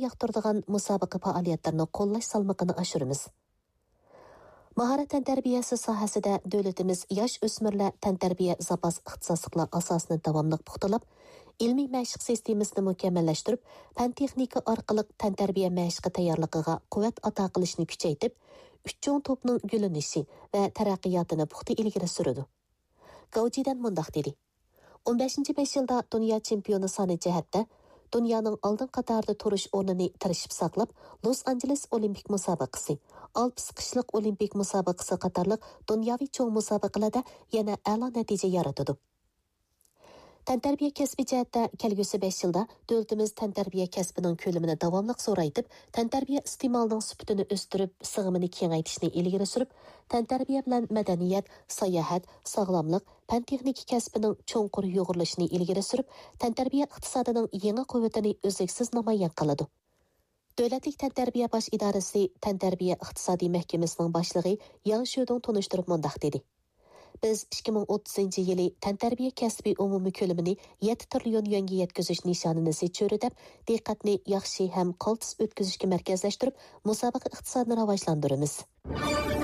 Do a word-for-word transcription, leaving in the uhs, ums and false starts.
ياقتۇرىدىغان مۇسابىقە پائالىيەتلىرىنى قوللاش سالمىقىنى ئاشۇرىمىز. ماھارەت تەنتەربىيەسى ساھەسىدە دۆلىتىمىز ياش ئۆسمۈرلەر تەنتەربىيە زاپاس ئىختىساسلىقلار ئاساسىنى داۋاملىق پۇختىلاپ، ئىلمىي مەشىق سىستېمىسىنى مۇكەممەللەشتۈرۈپ، پەن-تېخنىكا ئارقىلىق تەنتەربىيە مەشىقى تەييارلىقىغا قۇۋۋەت ئاتا قىلىشنى كۈچەيتىپ، ئۈچ چوڭ توپنىڭ گۈللىنىشى ۋە تەرەققىياتىنى پۇختا ئىلگىرى سۈرىدۇ. گاۋجىدەن مۇنداق دېدى: «ئون بەشىنچى بەش يىلدا دۇنيا چېمپىيونى سانى جەھەتتە دۇنيانىڭ ئالدىن قاتارىدا تۇرۇش ئورنىنى تىرىشىپ ساقلاپ، لوس ئانژېلېس ئولىمپىك مۇسابىقىسى، ئالپىس قىشلىق ئولىمپىك مۇسابىقىسى قاتارلىق دۇنياۋى چوڭ مۇسابىقىلەردە يەنە ئەلا نەتىجە يارىتىدۇ.» تەنتەربىيە كەسپى جەھەتتە كەلگۈسى بەش يىلدا دۆلىتىمىز تەنتەربىيە كەسپىنىڭ كۆلىمىنى داۋاملىق زورايتىپ، تەنتەربىيە ئىستېمالىنىڭ سۈپىتىنى ئۆستۈرۈپ، سىغىمىنى كېڭەيتىشنى ئىلگىرى سۈرۈپ، تەنتەربىيە بىلەن مەدەنىيەت، ساياھەت، ساغلاملىق، پەن-تېخنىكا كەسپىنىڭ چوڭقۇر يۇغۇرۇلۇشىنى ئىلگىرى سۈرۈپ، تەنتەربىيە ئىقتىسادىنىڭ يېڭى قۇۋۋىتىنى ئۈزلۈكسىز نامايان قىلىدۇ. دۆلەتلىك تەنتەربىيە باش ئىدارىسى تەنتەربىيە ئىقتىسادىي مەھكىمىسىنىڭ باشلىقى ياڭ شۆدۇڭ تونۇشتۇرۇپ مۇنداق دېدى: «بىز ئىككى مىڭ ئوتتۇزىنچى يىلى تەنتەربىيە كەسپى ئومۇمىي كۆلىمىنى يەتتە تىرىليون يۈەنگە يەتكۈزۈش نىشانىنى زىچ چۆرىدەپ، دىققەتنى ياخشى ھەم قالتىس ئۆتكۈزۈشكە مەركەزلەشتۈرۈپ، مۇسابىقە ئىقتىسادىنى راۋاجلاندۇرىمىز.»